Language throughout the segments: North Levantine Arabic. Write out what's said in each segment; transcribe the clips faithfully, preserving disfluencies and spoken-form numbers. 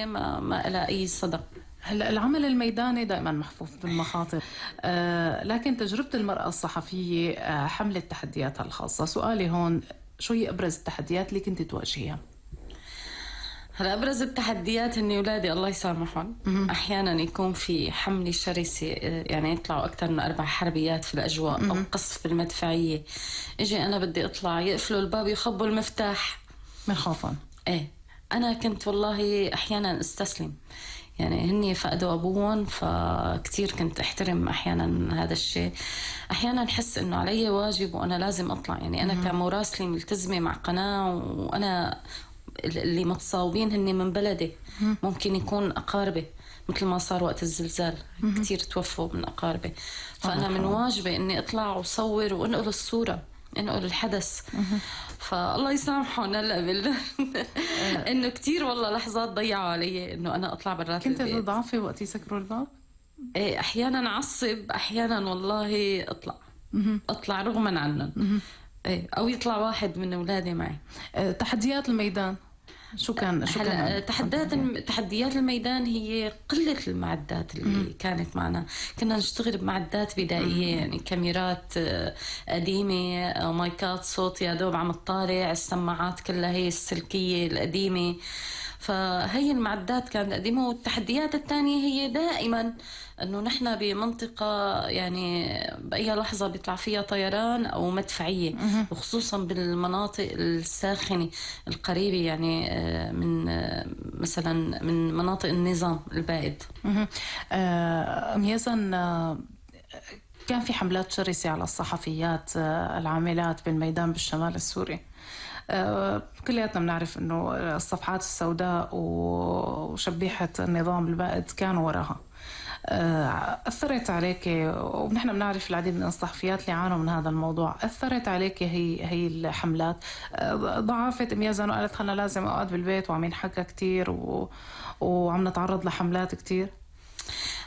ما ما لها أي صدى. هلا العمل الميداني دائما محفوف بالمخاطر، آه لكن تجربة المرأة الصحفية آه حملت تحدياتها الخاصة. سؤالي هون، شو هي أبرز التحديات اللي كنت تواجهيها؟ هلا أبرز التحديات إني أولادي الله يسامحهم أحيانا يكون في حملة شرسة، يعني يطلعوا أكثر من أربع حربيات في الأجواء أو قصف بالمدفعية، إجي أنا بدي أطلع يقفلوا الباب يخبوا المفتاح من خوفا. إيه أنا كنت والله أحيانا استسلم، يعني هني فقدوا أبوهم فكتير كنت أحترم أحيانا هذا الشيء. أحيانا أحس إنه علي واجب وأنا لازم أطلع، يعني أنا كمراسلة ملتزمة مع قناة وأنا اللي متصاوبين هني من بلدي، ممكن يكون أقاربي مثل ما صار وقت الزلزال كتير توفوا من أقاربي، فأنا من واجبي إني أطلع وصور وأنقل الصورة، انقل الحدث. فالله يسامحهم هلا بال انه كتير والله لحظات ضيعوا علي انه انا اطلع برات البيت. كنت تضعفي وقت يسكروا الباب؟ ايه احيانا اعصب، احيانا والله اطلع اطلع رغما عنهم، ايه او يطلع واحد من اولادي معي. تحديات الميدان شو كان؟ شو كان تحديات تحديات الميدان هي قلة المعدات اللي مم. كانت معنا. كنا نشتغل بمعدات بدائية، مم. يعني كاميرات قديمة، مايكات صوت يا دوب عم تطالع، السماعات كلها هي السلكية القديمة، فهي المعدات كانت قديمة. والتحديات الثانية هي دائما انه نحن بمنطقة يعني بأي لحظة بيطلع فيها طيران او مدفعية، وخصوصا بالمناطق الساخنة القريبة يعني من مثلا من مناطق النظام البائد. أم يزن، كان في حملات شرسة على الصحفيات العاملات بالميدان بالشمال السوري. كلياتنا بنعرف انه الصفحات السوداء وشبيحة النظام البائد كانوا وراها. أثرت عليك، ونحن بنعرف العديد من الصحفيات اللي عانوا من هذا الموضوع، أثرت عليك هي هي الحملات؟ ضعفت أم يزن وقالت أنا لازم أقعد بالبيت وعم ينحكى كتير و... وعم نتعرض لحملات كتير؟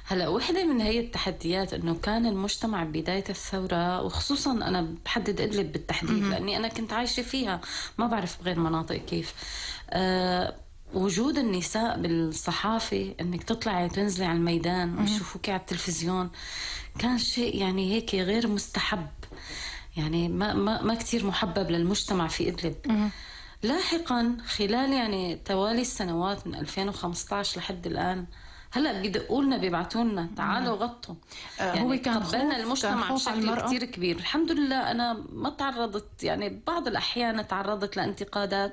هلا وحدة من هي التحديات انه كان المجتمع بداية الثورة، وخصوصا انا بحدد ادلب بالتحديد لاني انا كنت عايشة فيها، ما بعرف بغير مناطق كيف. أه وجود النساء بالصحافة، انك تطلعي وتنزلي على الميدان ويشوفوك على التلفزيون، كان شيء يعني هيك غير مستحب، يعني ما ما ما كتير محبب للمجتمع في ادلب. لاحقا خلال يعني توالي السنوات من ألفين وخمسة عشر لحد الآن، هلا بيدقوا لنا بيبعتوا لنا تعالوا غطوا. يعني هو كان قبلنا المجتمع كان بشكل كتير كبير. الحمد لله أنا ما تعرضت، يعني بعض الأحيان تعرضت لانتقادات،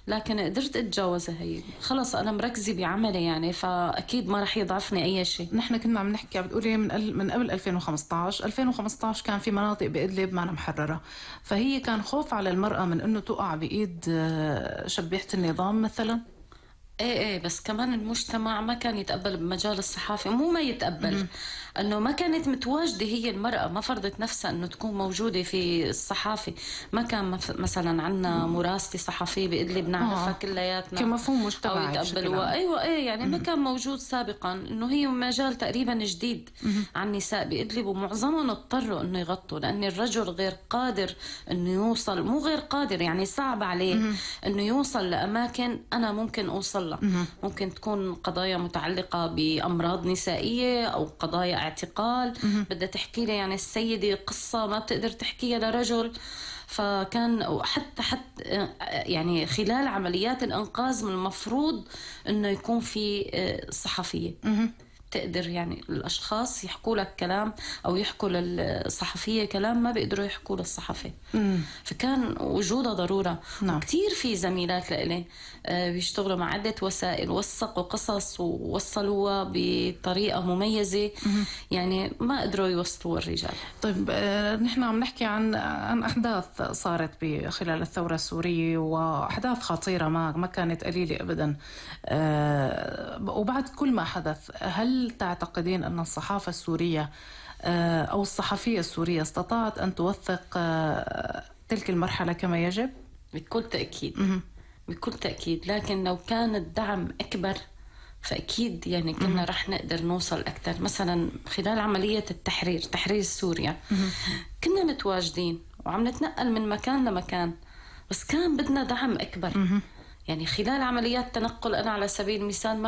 لكن قدرت أتجاوزها. هي خلص أنا مركزة بعملي يعني، فأكيد ما رح يضعفني أي شيء. نحن كنا عم نحكي بتقولي من من قبل ألفين وخمسة عشر ألفين وخمسة عشر كان في مناطق بإدلب ما محررة، فهي كان خوف على المرأة من إنه تقع بإيد شبيحة النظام مثلا. ايه ايه بس كمان المجتمع ما كان يتقبل بمجال الصحافة، مو ما يتقبل، انه ما كانت متواجدة هي المرأة، ما فرضت نفسها انه تكون موجودة في الصحافة. ما كان مثلا عنا مراسلة صحفية بإدلب نعرفها كلياتنا كمفهوم مجتمعي او يتقبلوها. ايوه ايه يعني ما كان موجود سابقا، انه هي مجال تقريبا جديد عن النساء بإدلب، ومعظمهم اضطروا انه يغطوا لان الرجل غير قادر انه يوصل، مو غير قادر يعني صعب عليه انه يوصل لأماكن انا ممكن اوصل. ممكن تكون قضايا متعلقة بأمراض نسائية أو قضايا اعتقال، بدها تحكي لي يعني السيدة قصة ما بتقدر تحكيها لرجل. فكان حتى حتى يعني خلال عمليات الإنقاذ من المفروض إنه يكون في صحفية تقدر يعني الأشخاص يحكوا لك كلام أو يحكوا للصحفية كلام ما بيقدروا يحكوا للصحفي. فكان وجودها ضرورة. نعم. وكتير في زميلات لإلي بيشتغلوا مع عدة وسائل، وثقوا قصص ووصلوها بطريقة مميزة، يعني ما قدروا يوصلوا الرجال. طيب نحن عم نحكي عن عن أحداث صارت خلال الثورة السورية، وأحداث خطيرة ما ما كانت قليلة أبدا. وبعد كل ما حدث، هل تعتقدين أن الصحافة السورية أو الصحفية السورية استطاعت أن توثق تلك المرحلة كما يجب؟ بكل تأكيد بكل تأكيد، لكن لو كان الدعم أكبر فأكيد يعني كنا رح نقدر نوصل أكثر. مثلا خلال عملية التحرير تحرير سوريا كنا متواجدين وعم نتنقل من مكان لمكان، بس كان بدنا دعم أكبر. يعني خلال عمليات تنقل أنا على سبيل المثال ما